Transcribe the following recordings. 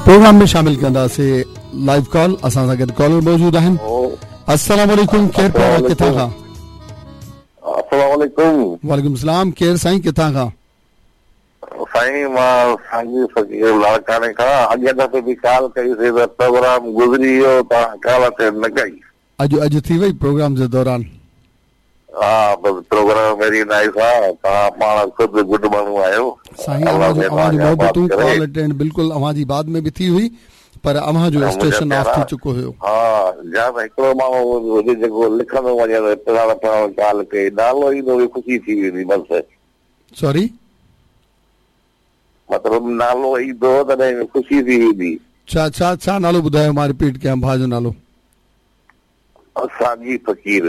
Programme ۾ شامل ڪنداسي live call اسان سان گڏ ڪالر موجود آهن السلام عليڪم ڪير پيارا ڪٿان کان السلام عليڪم وعليڪم السلام ڪير سائين ڪٿان کان سائين مان سانگي فقير لاڙڪاڻي کان اڳين دفعي به ڪال ڪئي سي ته پروگرام گذري ويو توهان ڪال اٽينڊ نه ڪئي. اڄ اڄ ٿي وئي پروگرام جي دوران. ها بس پروگرام ويري نائيس آ توهان پاڻ خود گڊ ماڻهو آهيو سائين اوهان جو اوهان جون محبتون ڪال اٽينڊ بلڪل اوهان جي بعد ۾ به ٿي هئي پر اوهان جو اسٽيشن آف ٿي چڪو هيو. ها يا ته هڪڙو ماڻهو هجي جيڪو لکندو وڃي ته فلاڻو فلاڻو ڪال ڪئي نالو ايندو به خوشي ٿي ويندي بس. سوري. مطلب نالو ايندو تڏهن خوشي ٿي ويندي. ڇا ڇا ڇا نالو ٻڌايو مان رپيٽ ڪيان ڀاء جو نالو. سانگي فقير.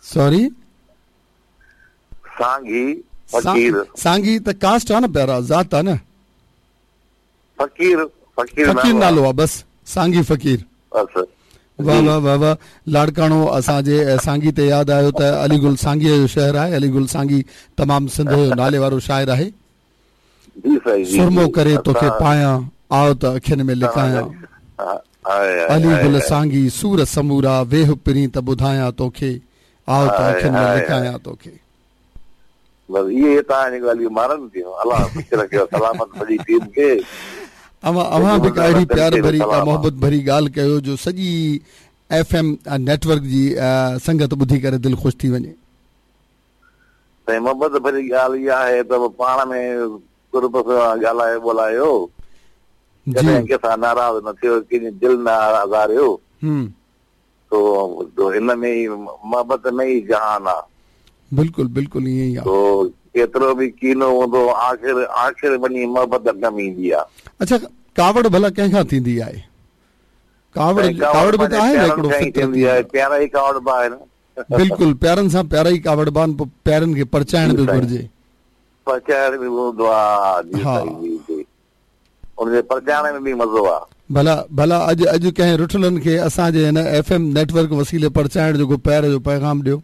سوري. سانگي فقير. سانگي ته ڪاسٽ آ نه پيارا ذات آ نه. فقير فقير فقير نالو آ بس سانگي فقير. بس. واه واه واه واه لاڙڪاڻو اسان جي سانگي تي ياد آيو ته علي گل سانگي جو شهر آهي علي گل سانگي تمام سنڌ جو نالي وارو شاعر آهي. جي سائين جي سرمو ڪري توکي پايان آء ته اکين ۾ لڪايان علي گل سانگي سور سمورا ويهه پرين ته ٻڌايان توکي آء ته اکين ۾ لڪايان توکي. بس اهي توهان جون ڳالهيون مارن ٿيون الله خوش رکيو سلامت سڄي ٽيم کي. اوهان اوهان به ڪا اهڙي پيار ڀري ڪا محبت ڀري ڳالهه ڪيو جو سڄي ايف ايم نيٽ ورڪ جي سنگت ٻڌي ڪري دل خوش ٿي وڃي. سائين محبت ڀري ڳالهه اها آهي ته پاڻ ۾ قرب سان ڳالهايو ٻولايو ڪڏهن ڪنهن سان ناراض نه ٿيو ڪنهن جي دل نه آزاريو سو هن ۾ ئي محبت ۾ ئي جهان آ. بلڪل بلڪل ائين ئي آ. سو ڪيترو به ڪينو هوندو آخر آخر وڃي محبت ڪم ايندي آ. اڇا ڪاوڙ ڀلا ڪنهن کان ٿيندي آهي؟ ڪاوڙ ڪاوڙ به ته آهي نه هڪڙو فطرتي آهي. پيارا ئي ڪاوڙبا آهن. بلڪل پيارن سان پيارا ئي ڪاوڙبا آهن پوء پيارن کي پرچائڻ به گهرجي. پرچائڻ به هوندو آ جي سائين جي جي ان جي پرچائڻ ۾ به مزو آ. ڀلا ڀلا اڄ اڄ ڪنهن رٺلن کي اسان جي هن ايف ايم نيٽ ورڪ وسيلي پرچائڻ جو ڪو پيار جو پيغام ڏيو.